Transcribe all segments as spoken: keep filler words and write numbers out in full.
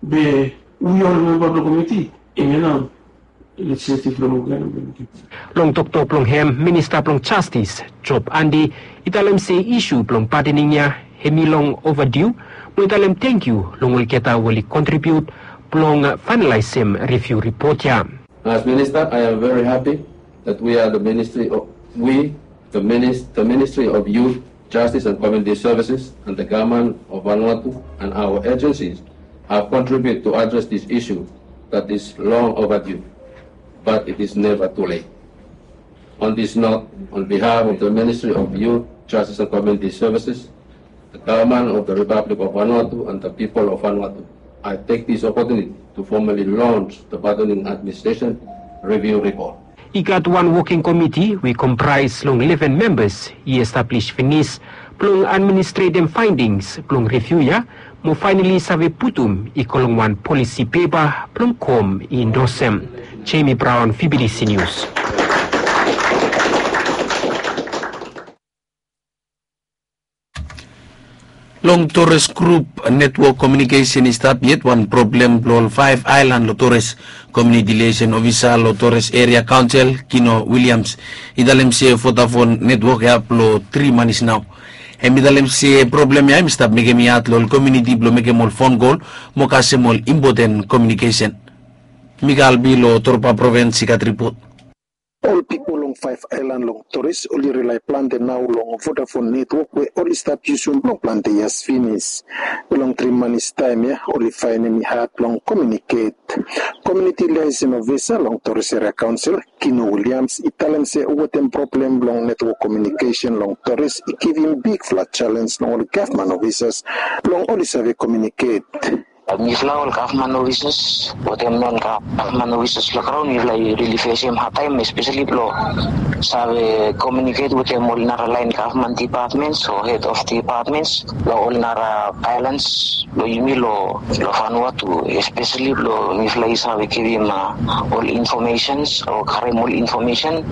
Be wi ol memba blong komiti, hemia nao legislative blong ol gae. Long toktok blong hem, Minista blong Jastis, Job Andi, i talem se isu blong padening ya hemi long overdue, mo i talem tangkiu long olgeta we oli kontribiut blong faenalaesem riviu ripot ya. As Minister, I am very happy that we are the Ministry of, we, the Minis-, the Ministry of Youth, Justice and Community Services and the government of Vanuatu and our agencies have contributed to address this issue that is long overdue, but it is never too late. On this note, on behalf of the Ministry of Youth, Justice and Community Services, the government of the Republic of Vanuatu and the people of Vanuatu, I take this opportunity to formally launch the Padening Administration Review Report. I gat wan woking komiti we i kompraes long leven membas i establish finis blong administretem faedings blong riviu ya, mo faenali save putum i go long wan polisi pepa blong kom i indosem. Jamie Brown, V B T C News. Long Torres Group netwok komiunikesen i stap yet wan problem blong ol faef aelan long Torres. Komiuniti liaesen ofisa long Torres Eria Kaonsel, Kino Williams, i talem se Vodafone netwok ya blong tri manis nao. Hem i talem se problem ya hem i stap mekem i had long ol komiuniti blong mekem ol fon kol mo kasem ol impoten komiunikesen. Mika Albi long Torba provins i gat ripot. Ol pipol long faef aelan long Torres oli rilae plante nao long Vodafone netwok we oli stap yusum blong plante yias finis. Be long tri manis taem ya oli faenem i had blong komiuniket. Komiuniti liaesen ofisa long Torres Eria Kaonsel, Kino Williams, i talem se wetem problem blong netwok komiunikesen long Torres i givim bigfala jalenj long ol gavman ofisas blong oli save komiuniket. Mifala ol gavman ofisas wetem non gavman ofisas long graon, mifala i rili fesem hadtaem, espeseli blong save komiuniket wetem ol nara laen gavman dipatmens o hed of dipatmens long ol nara aelans blong yumi long, long Vanuatu, espeseli blong mifala i save givim, a, ol infomesens o karem ol infomesen.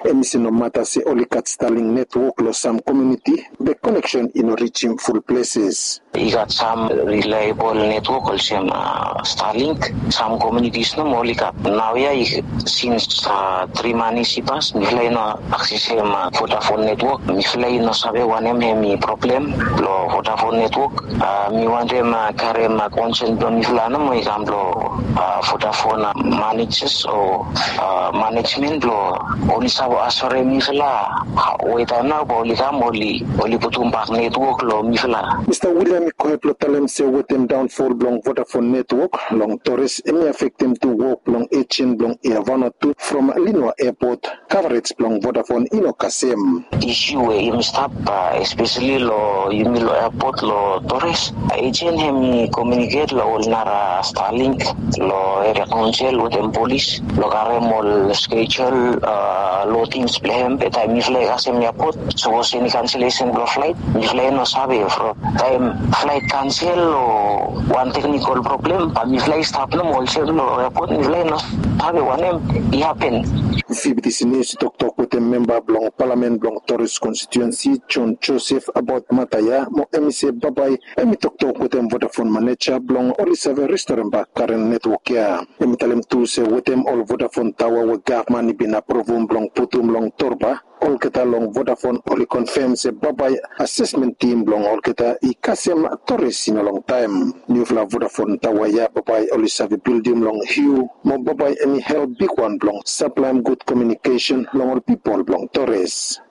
Hem i se nomata se oli gat Starlink netwok long sam komiuniti, be koneksen i no rijim ful pleses. I gat sam rilaebol netwok olsem, a, Starlink. Sam komiunitis nomo oli gat. Naoia i, sins, a, tri manis i pas, mifala i no aksesem, a, Vodafone netwok. Mifala i no save wanem hemi problem blong Vodafone netwok. A, mi wantem, a, karem, a, konsen blong mifala nomo i kam long, a, Vodafone, a, manejas o, a, manejmen blong oli save asure mifala, a, we taem nao bae oli kam oli, oli putum bak netwok long mifala. Mista William i gohed blong talem se wetem daonfol blong Vodafone netwok long Torres hemi afektem tu wok blong ejen blong Air Vanuatu from Lenoir Airport. Kavarej blong Vodafone i no kasem. Isu we yumi stap, a, espeseli long yumi long airport long Torres, a, ejen hemi komiuniket long ol nara Starlink long eria kaonsel wetem polis blong karem ol skejul, a, lodings blong hem. Be taem mifala i kasem airport, sapos eni kanselesen blong flaet, mifala i no save from taem flaet kansel o wan teknikol problem, bae mifala i stap nomo olsem long airport, mifala i no save wanem i hapen. V B T C News i toktok wetem memba blong palamen blong Torres konstituensi, John Joseph, abaot mata ya, mo hem i se bambae hem i toktok wetem Vodafone maneja blong oli save restorem bak karen netwok ya. Hem i talem tu se wetem ol Vodafone taoa we gavman i bin apruvum blong putum long Torba, olgeta long Vodafone oli konfem se bambae asesmen tim blong olgeta i kasem Torres i no longtaem. Niufala Vodafone taoa ya bambae oli save bildim long Hiu, mo bambae hem i help bigwan blong saplaem gud komiunikesen long ol pipol blong Torres.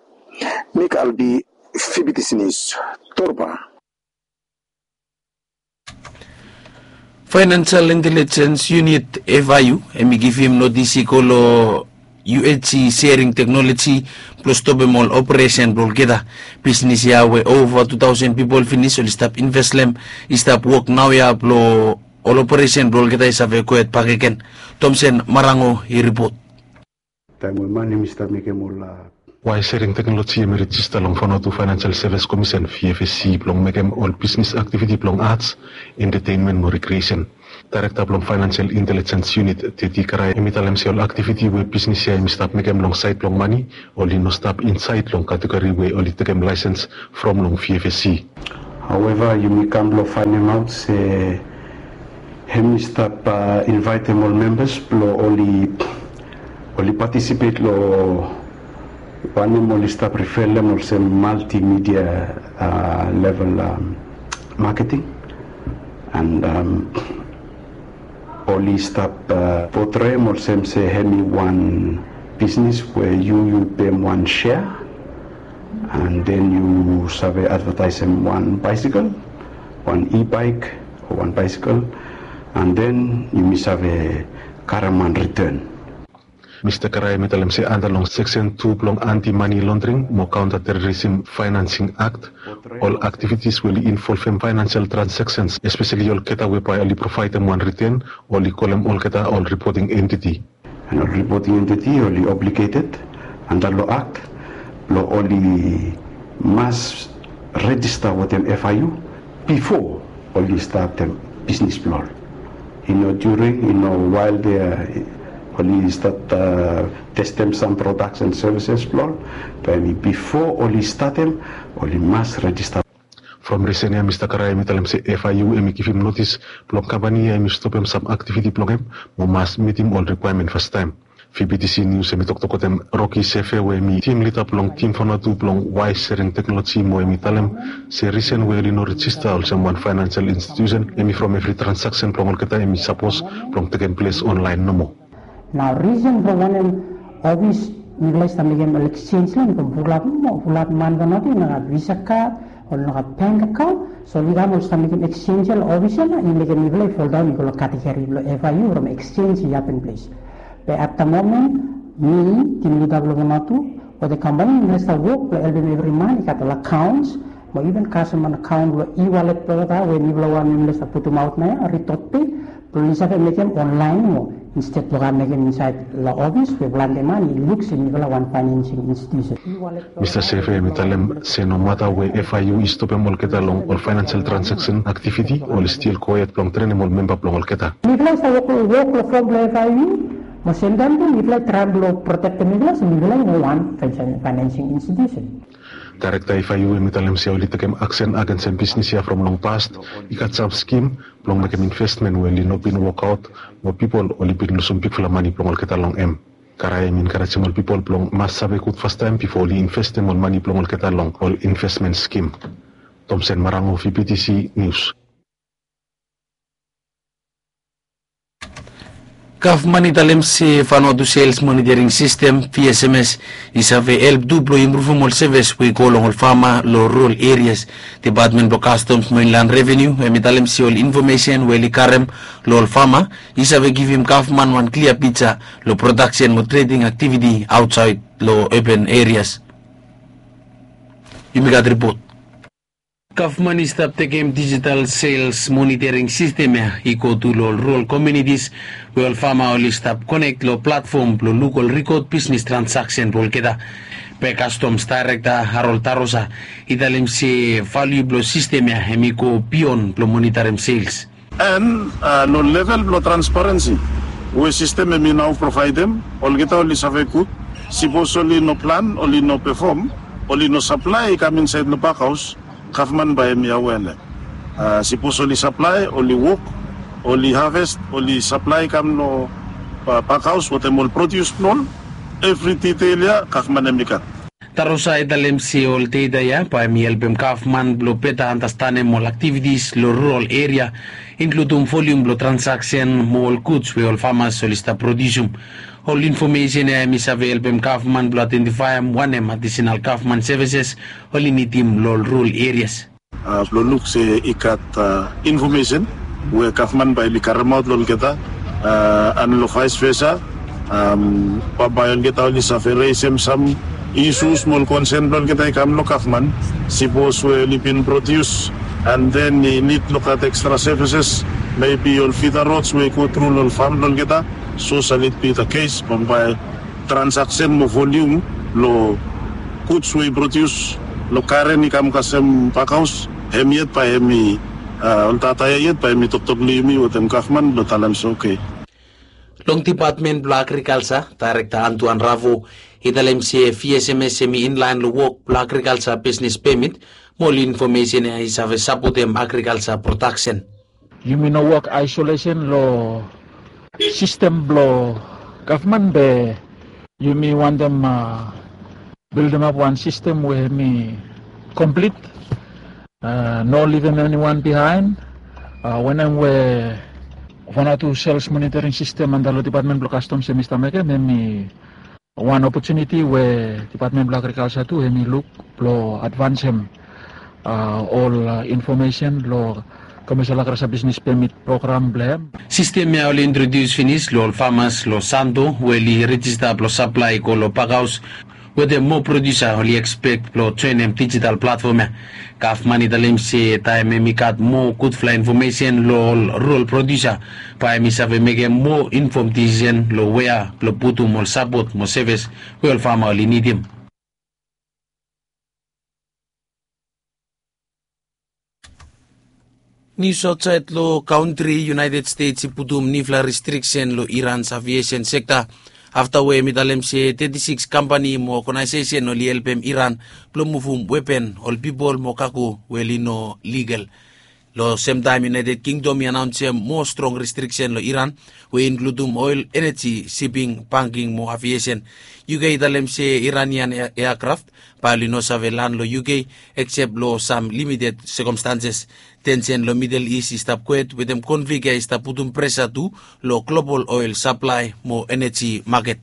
Mik Albi, V B T C News, Torba. Financial Intelligence Unit, F I U, hem i givim notis i go long U H G Sharing Technology blong stopem ol operesen blong olgeta. Bisnis ya we ova tu taosen pipol finis oli stap invest long hem i stap wok naoia blong ol operesen blong olgeta i save gohed bakegen. Thomson Marango i ripot. Taem we man hem i stap mekem ol, a, Waya sharing teknoloji hem i rejista long Vanuatu Financial Service Commission, V F S C, blong mekem ol bisnis aktiviti blong arts, entertainment mo recreation. Daerekta blong Financial Intelligence Unit, Teti Karai, hem i talem se ol aktiviti we bisnis ya hem i stap mekem long saed blong mane, oli no stap insaed long kategori we oli tekem laesens from long V F S C. However, yumi kam blong faenemaot se Hem i stap invaetem ol membas blong oli oli patisipet long wanem oli stap rifelem olsem multimedia level maketing. And oli stap potreim olsem se hem i wan bisnis we yu yu pem wan share, and then yu save advertaisem wan bicycle, wan e-bike o wan bicycle, and then yumi save karem wan return. Mista Karaem i talem se anda long seksen tu blong anti mani londring mo kaunta terorism faenansing akt, ol aktivitis we oli involvem faenansial transaksens, espeseli olgeta we bae oli provaedem wan riten, oli kolem olgeta ol ripoting entiti. And ol ripoting entiti oli obligeted anda long akt blong oli mas rejista wetem F I U bifo oli statem bisnis blong ol. I no during, i no wael de oli stat testem sam products and services blong ol. Be bifo oli statem oli mas rejista. From risen ya Mista Karaem i talem se F I U hem i givim notis blong kampani ya hem i stopem sam aktiviti blong hem mo mas mitim ol rikwaemen fastaem. V B T C News hem i toktok wetem Rocky Sefe we hem i tim lida blong tim Vanuatu blong Wise Sharing Technology mo hem i talem se risen we oli no rejista olsem wan faenansial institusen hem i from evri transaksen blong olgeta hem i sapos blong tekem ples onlaen nomo. Nao risen blong wanem ofis mifala i stap mekem ol eksenj laen from fulap mo fulap man Vanuatu i no gat visa kad o no gat bank akaon. So oli kam oli stap mekem eksenj ya long ofis ya na i mekem mifala i foldaon i go long kategori blong F I U from eksenj i hapen ples. Be at the moment mi tim lida blong Vanuatu wetem kampani mifala i stap wok blong helpem evri man i gat ol akaons mo iven kasem wan akaon blong e-wallet blong olgeta we mifala wanem mifala i stap putumaot nao ya Ritotpay blong oli save mekem onlaen mo insted blong kam mekem insaed long ofis we plante man i luk se mifala wan faenansing institusen. Mista Sefe hem i talem se nomata we F I U i stopem olgeta long ol faenansial transaksen aktiviti oli stil gohed blong trenem ol memba blong olgeta. Mifala i stap wok long fom blong F I U mo semtaem tu mifala i traem blong protektem mifala se mifala i no wan faenansing institusen. Daerekta F I U hem i talem se oli tekem aksen agensem bisnis ya from long past i gat sam skim blong mekem investmen we oli no bin wokaot mo pipol oli bin lusum bigfala mani blong olgeta long hem. Karaem i enkarejem ol pipol blong mas save gud fastaem bifo oli investem ol mani blong olgeta long ol investmen skim. Tomsen Marango, V B T C News. Gavman i talem se Vanuatu Sales Monitoring System, V S M S, i save help tu blong impruvum ol sevis we i go long ol fama long rural erias. Depatmen blong Kastoms mo Inland Revenu hem i talem se ol infomesen we oli karem long ol fama i save givim gavman wan klia pija long prodaksen mo treding aktiviti aotsaed long urban erias. Yumi gat ripot. Gavman i stap tekem dijital sales monitoring sistem ya i go tu long ol rural komunitis we ol fama oli stap konek long platfom blong luk ol rikod bisnis transaksen blong olgeta. Be Kastoms Daerekta Harold Tarosa i talem se valiu blong sistem ya hem i go bion blong monitarem sales. And long level blong transparensi we sistem hem i nao provaedem, olgeta oli save gud. Sipos oli no plan, oli no pefom, oli no saplae i kam insaed long bakhaos, gavman bae hem i awea long hem. Sipos oli saplae, oli wok, oli haves, oli saplae i kam long bakhaos wetem ol prodius blong ol, evri ditel ya gavman hem i gat. Tarosa i talem se ol data ya bae hem i helpem gavman blong beta andastanem ol aktivitis long rural eria, inkludum volium blong transaksen mo ol guds we ol famas oli stap prodiusum. Ol infomesen ya hem i save helpem gavman blong aedentifaem wanem adisenal gavman sevises oli nidim long ol rural erias. Blong luk se i gat infomesen we gavman bae oli karemaot long olgeta, and long vaes vesa, bambae olgeta oli save resem sam isus mo ol konsen blong olgeta i kam long gavman. Sipos we oli bin prodius and then i nid long gat ekstra sevises, mebi ol fida rods we i gotru long ol fam blong olgeta. So sal it bi da kes bambae transaksen mo volium long guds we i prodius long karen i kam kasem bakhaos, hem yet bae hem i ol data ya yet bae hem i toktok long yumi wetem gavman blong talem se oke. Long depatmen blong agrikalsa, daerekta Antuan Ravo i talem se V S M S hem i inlaen long wok blong agrikalsa bisnis pemit mo ol infomesen ya i save sapotem agrikalsa prodaksen. yumi no wok aisolesen long sistem blong gavman be yumi wantem bildimap wan sistem we hemi komplit, no livim eniwan bihaen. Wanem we Vanuatu sels monitoring sistem anda long dipatmen blong kastoms hemi stap mekem, hemi wan opotuniti we dipatmen blong agrikalsa tu hemi luk blong advansem ol infomesen long komersel agrasa bisnis pemit program blong hem. Sistem ya oli introdius finis long ol famas long Santo we oli rejista blong saplae i go long bakhaos, wetem moa produsa oli ekspek blong joenem dijital platfom ya. Gavman i talem se taem hemi gat moa gudfala infomesen long ol rural produsa, bae hemi save mekem moa infom disisen long wea blong putum ol sapot mo sevis we ol fama oli nidim. Nius aotsaed long kantri, United States i putum niufala restriksen long Iran's aviesen sekta afta we hemi talem se teti sikis kampani mo ogenaesesen oli helpem Iran blong muvum wepen, ol pipol mo kago we oli no ligal. Long semtaem United Kingdom i anaonsem moa strong restriksen long Iran we i inkludum oel, eneji, siping, banking mo aviesen. UK i talem se Iranian eakraft bae oli no save lan long UK eksep long sam limited sekomstanses. Tensen long Midel Is i stap kwet wetem konflik ya i stap putum presa tu long global oel saplae mo eneji maket.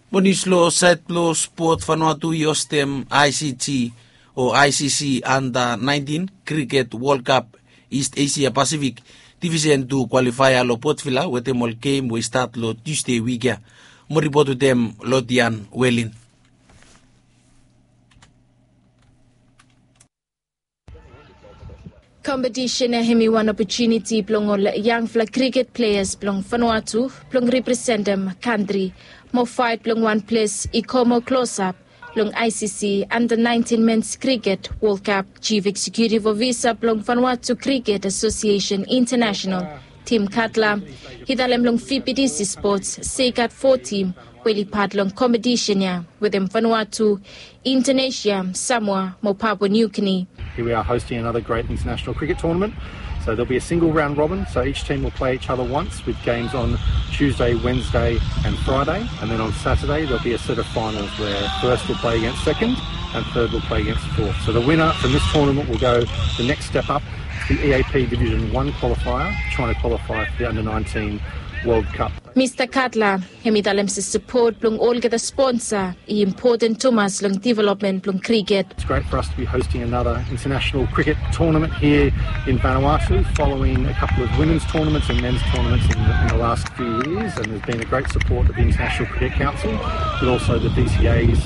Mo nius long saed blong spot, Vanuatu i hostem ICC o ICC Anda naentin Kriket Wol Kap Ist Esia Pasifik divisen tu kwalifaea long Port Vila wetem ol gem we i stat long Tusde wik ya. Mo ripot wetem Lodian Welin. Kompetisen ya hemi wan opotuniti blong ol yangfala kriket pleas blong Vanuatu blong representem kantri mo faet blong wan ples i go moa klosap long ICC Anda naentin Mens Kriket Wol Kap. Jif Eksekutif Ofisa blong Vanuatu Kriket Asosiesen Intanasenal, Tim Katla, i talem long VBTC Spots se i gat fo tim we oli pat long kompetisen ya wetem Vanuatu, Indonesia, Samoa mo Papua New Guinea. Here we are hosting another great international cricket tournament. So there'll be a single round robin, so each team will play each other once with games on Tuesday, Wednesday and Friday. And then on Saturday there'll be a set of finals where first will play against second and third will play against fourth. So the winner from this tournament will go the next step up to the EAP Division one qualifier, trying to qualify for the under nineteen World Cup. Mista Katla hemi talem se sapot blong olgeta sponsa i impoten tumas long developmen blong kriket. It's great for us to be hosting another international cricket tournament here in Vanuatu following a couple of women's tournaments and men's tournaments in the, in the last few years, and there's been a great support of the International Cricket Council, but also the VCA's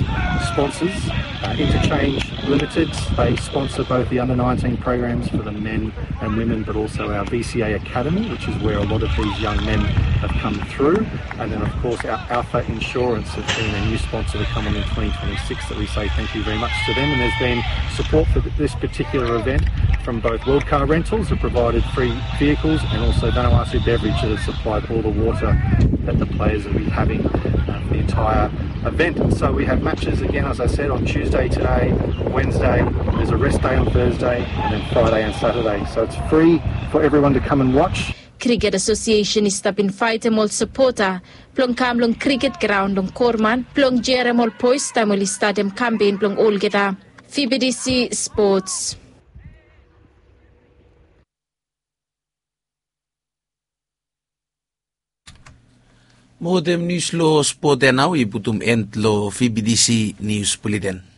sponsors. Uh, Interchange Limited, they sponsor both the under nineteen programs for the men and women, but also our VCA Academy, which is where a lot of these young men have come through. And then, of course, our Alpha Insurance have been a new sponsor to come on in twenty twenty-six that we say thank you very much to them. And there's been support for th- this particular event from both World Car Rentals, who provided free vehicles, and also Vanuatu Beverage, that have supplied all the water that the players will be having uh, for the entire event. So we have matches again, as I said, on Tuesday today, Wednesday, there's a rest day on Thursday, and then Friday and Saturday. So it's free for everyone to come and watch. Kriket Asosiesen i stap invaetem ol sapota blong kam long kriket graon long Korman blong jerem ol boes taem oli statem kampen blong olgeta. VBTC Sports. Mo wetem nius long spot ya nao i putum en long VBTC Nius Buleten.